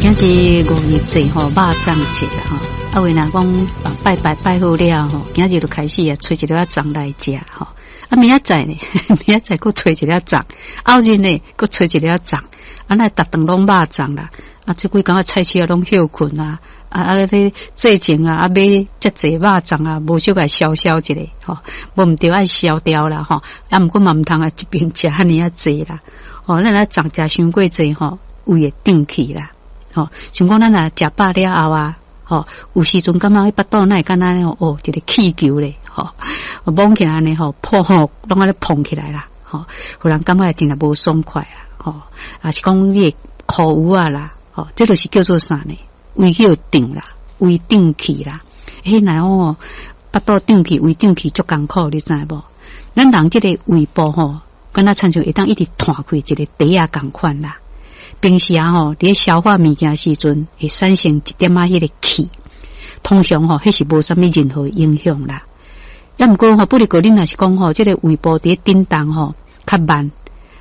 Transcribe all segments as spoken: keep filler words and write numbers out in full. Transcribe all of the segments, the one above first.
今日五日節吼，肉粽節啦吼。啊，有人講拜拜拜好了吼，今日就開始啊，揣一粒仔粽來食吼。啊，明仔載呢？明仔載閣揣一粒粽，後日呢，閣揣一粒粽。啊，那逐頓攏肉粽啦。啊，這幾工啊，菜市啊攏歇睏啊。啊啊，咧節前啊，啊買遮濟肉粽啊，無小共消消一下吼，無毋著愛燒掉啦吼。啊，毋過嘛毋通啊，一邊食按呢仔濟啦。吼，咱若粽食傷過濟吼，胃會脹氣啦。吼，像講咱若食飽了後啊，吼，有時陣感覺彼腹肚哪會敢若吼，哦，一個氣球咧，吼，膨起來按呢吼，破吼，攏按呢膨起來啦，吼，予人感覺真正無爽快啦，吼，抑是講你會苦有啊啦，吼，這就是叫做啥呢？胃叫脹啦，胃脹氣啦，彼若哦，腹肚脹氣，胃脹氣足艱苦，你知無？咱人這個胃部吼，敢若親像會當一直彈開一個袋仔仝款啦。平時啊吼，佇咧消化物件時陣，會產生一點仔彼個氣，通常吼，彼是無啥物任何影響啦。抑毋過吼，不過恁若是講吼，這個胃部佇咧振動吼較慢，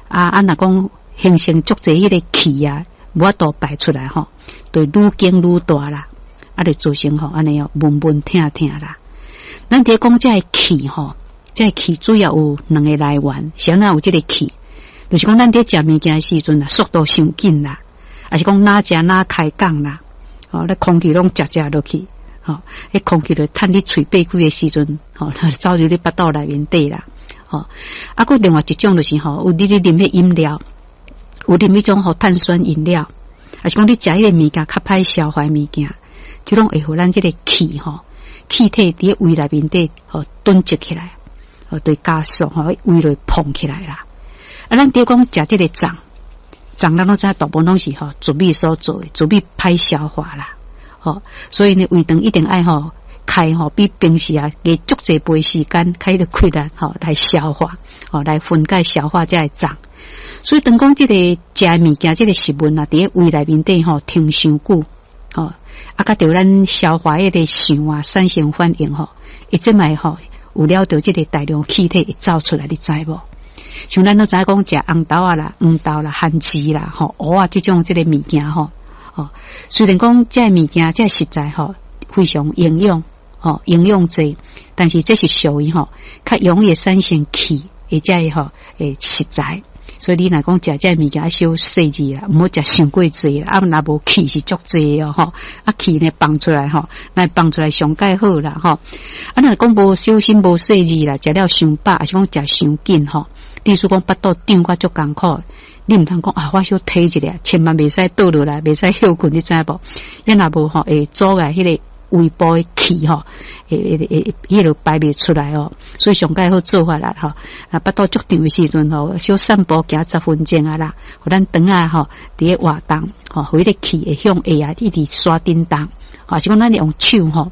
啊啊，若講形成足濟彼個氣啊，無法度排出來吼，就愈緊愈大啦，啊，就造成吼按呢哦，悶悶疼疼啦。咱佇咧講這个氣吼，這个氣主要有兩个來源，啥人有這个氣？就是講咱佇食物件的時陣啊，速度傷緊啦，抑是講若食若開講啦，吼，咧空氣攏食食落去，吼，彼空氣就趁你喙擘開的時陣，吼，走入你腹肚內面底啦，吼。啊，閣另外一種就是吼，有你咧啉彼飲料，有啉彼種吼碳酸飲料，抑是講你食彼个物件較歹消化的物件，這攏會予咱這个氣吼，氣體佇咧胃內面底吼囤積起來，吼，對加速吼，胃就會膨起來啦。啊，咱佇講食這个粽，粽咱攏知大部分攏是吼糯米所做的，糯米歹消化啦，吼，所以呢，胃腸一定愛吼開吼比平時啊加足濟倍時間，開彼個氣力吼來消化，吼來分解消化這个粽。所以當講這個食的物件，這個食物啊，佇咧胃內面底吼停傷久，吼啊，佮著咱消化彼个腸啊產生反應吼，伊這擺吼有了著這个大量氣體會走出來，你知無？像咱攏知影講食紅豆仔啦、黃豆啦、番薯啦、吼芋仔這種這个物件吼，吼雖然講這个物件這个食材吼非常營養，吼營養濟，但是這是屬於吼較容易產生氣的這个吼的食材。所以你若講食這个物件小細緻啦，毋好食傷過濟啦，啊若無氣是足濟哦吼，啊氣呢放出來吼，來放出來上蓋好啦吼。啊若講無小心無細緻啦，食了傷飽，抑是講食傷緊吼，例如講腹肚脹甲足艱苦，你毋通講啊，我小體一下，千萬袂使倒落來，袂使歇睏，你知無？伊若無吼會阻礙彼个胃部的氣吼，會會會彼个排袂出來哦。所以上蓋好做法啦吼，啊腹肚足脹的時陣吼，小散步行十分鐘啊啦，予咱腸仔吼佇咧活動吼，予彼个氣會向下啊一直徙振動，抑是講咱用手吼，啊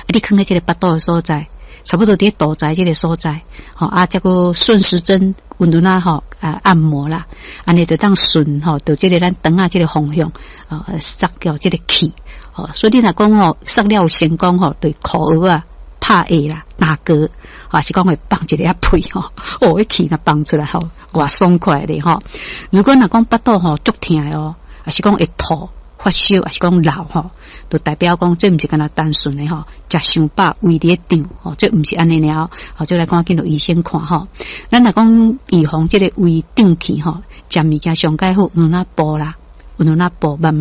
你囥佇這个腹肚的所在，差不多佇咧肚臍這个所在，吼啊，才閣順時針溫溫仔吼啊按摩啦，按呢就當順吼，著這个咱腸仔這个方向啊，釋掉這个氣。吼，所以你若講吼，釋了有成功吼，對苦蚵仔拍下啦，打嗝，抑是講會放一个屁吼，哦，彼氣若放出來吼，偌爽快咧吼。如果若講腹肚吼足疼的哦，抑是講會吐、發燒，抑是講老吼，就代表講這毋是干焦單純的吼，食傷飽胃佇咧脹吼，這毋是按呢爾，吼，就來趕緊予醫生看吼。咱若講預防這个胃脹氣吼，食物件上蓋好，慢慢哺啦，慢慢哺，慢慢。